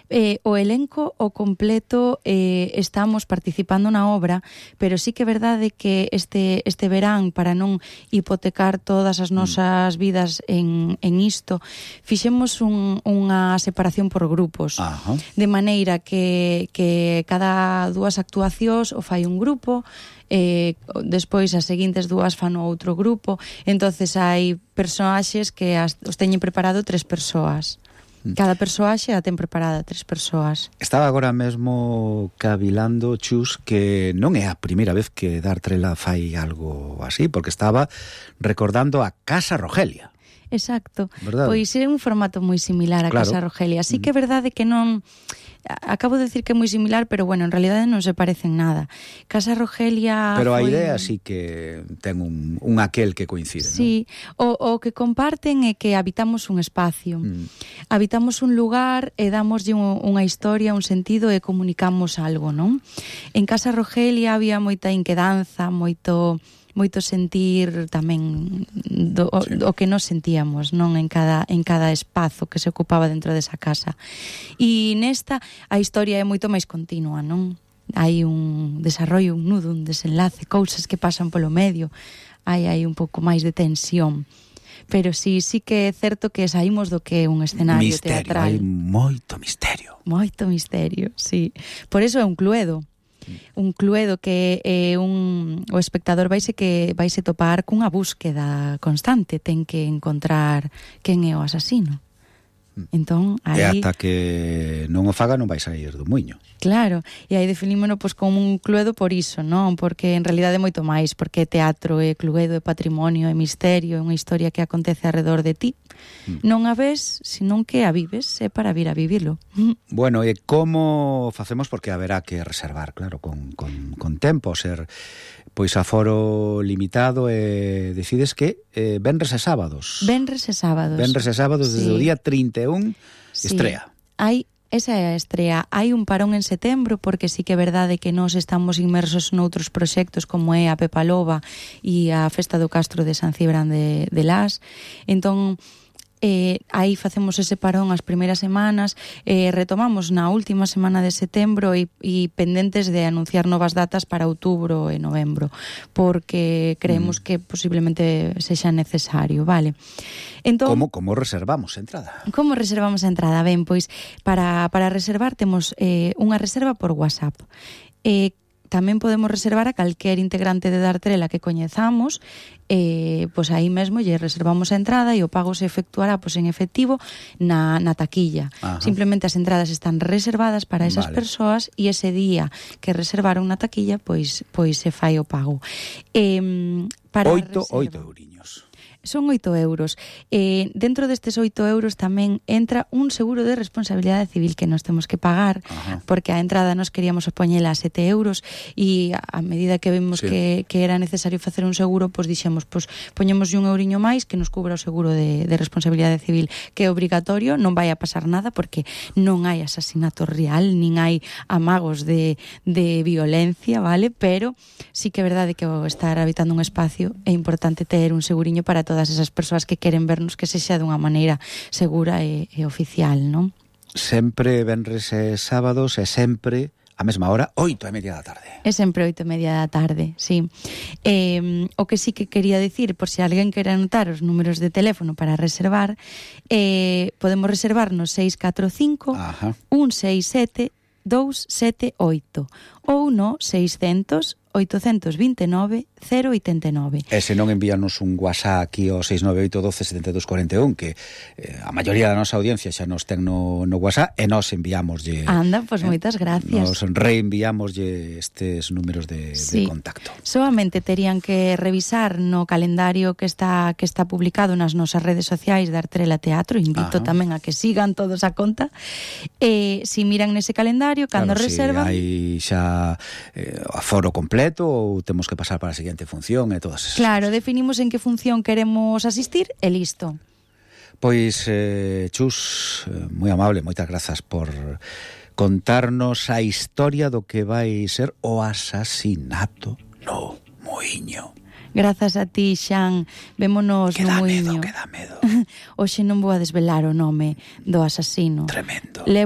O elenco o completo estamos participando na obra, pero sí que é verdade que este verán, para non hipotecar todas as nosas vidas en isto, fixemos unha separación por grupos. Ajá. De maneira que cada dúas actuacións o fai un grupo, despois as seguintes dúas fan o outro grupo. Entonces hai personaxes que os teñen preparado 3 persoas. Cada persoaxe a ten preparada 3 persoas. Estaba agora mesmo cavilando, Chus, que non é a primeira vez que Dartrela fai algo así, porque estaba recordando a Casa Rogelia. Exacto. Verdade? Pois é un formato moi similar a Claro. Casa Rogelia. Así que é verdade que non... Acabo de decir que é moi similar, pero bueno, en realidade non se parecen nada. Casa Rogelia... Pero a foi... idea sí que ten un aquel que coincide, Sí, o que comparten é que habitamos un espacio. Habitamos un lugar e damoslle unha historia, un sentido e comunicamos algo, non? En Casa Rogelia había moita inquedanza, moito sentir tamén o que nos sentíamos, non, en cada espazo que se ocupaba dentro desa casa. E nesta a historia é moito máis continua, non? Hai un desarrollo, un nudo, un desenlace, cousas que pasan polo medio, hai un pouco máis de tensión. Pero sí que é certo que saímos do que é un escenario teatral. Hai moito misterio. Moito misterio, sí. Por eso é un Cluedo. Un Cluedo que é o espectador vaise topar cunha búsqueda constante, ten que encontrar quen é o asasino. Entón, aí... E ata que non o faga non vai sair do muiño. Claro, e aí definímono como un Cluedo por iso, non? Porque en realidade é moito máis, porque é teatro, é Cluedo, é patrimonio, é misterio, é unha historia que acontece alrededor de ti. Non a ves, senón que a vives, é para vir a vivilo. Bueno, e como facemos? Porque haberá que reservar, claro, con tempo, ser pois aforo limitado, e decides que venres e sábados. Venres e sábados. Venres e sábados, desde o día 31, estrea. Esa é a estrea. Hai un parón en setembro, porque sí que é verdade que nós estamos inmersos noutros proxectos como é a Pepa Loba e a Festa do Castro de San Cibrán de Las. Entón, aí facemos ese parón as primeiras semanas, retomamos na última semana de setembro e pendentes de anunciar novas datas para outubro e novembro, porque creemos que posiblemente sexa necesario, vale? Entón, Como reservamos a entrada? Como reservamos a entrada? Ben, pois para reservar temos unha reserva por WhatsApp. Tamén podemos reservar a calquer integrante de Dartrela que coñezamos, pois aí mesmo lle reservamos a entrada e o pago se efectuará en efectivo na taquilla. Ajá. Simplemente as entradas están reservadas para esas persoas e ese día que reservaron na taquilla, pois se fai o pago. Para 8 euriños. Son 8 euros. Dentro destes 8 euros tamén entra un seguro de responsabilidade civil que nos temos que pagar. Ajá. Porque a entrada nos queríamos poñela a 7 euros e a medida que vimos que era necesario facer un seguro, pois dixemos, poñemos un euriño máis que nos cubra o seguro de responsabilidade civil, que é obrigatorio, non vai a pasar nada porque non hai asasinato real, nin hai amagos de violencia, vale? Pero sí que é verdade que ao estar habitando un espacio é importante ter un seguriño para todas esas persoas que queren vernos que sexa dunha maneira segura e oficial, non? Sempre venres e sábados, e sempre a mesma hora, 8:30 da tarde. É sempre 8:30 da tarde, sí. O que sí que quería dicir, por se alguén quere anotar os números de teléfono para reservar, podemos reservar no 645 167 278 ou no 600 829 089. E se non envíanos un WhatsApp aquí ao 698 12 72 41, que a maioría da nosa audiencia xa nos ten no WhatsApp, e nos enviámoslle... Anda, pois moitas gracias. Nos reenviámoslle estes números de contacto. Solamente terían que revisar no calendario que está publicado nas nosas redes sociais de Dartrela Teatro. Invito tamén a que sigan todos a conta. Si miran nese calendario, cando reservan... Si hai xa aforo completo, ou temos que pasar para a seguinte función e todas esas Claro, cosas. definimos en que función queremos asistir e listo. Pois, Chus, moi amable, moitas grazas por contarnos a historia do que vai ser o asasinato no muiño. Grazas a ti, Xan. Vémonos no muiño. Queda medo. Hoxe non vou a desvelar o nome do asasino. Tremendo.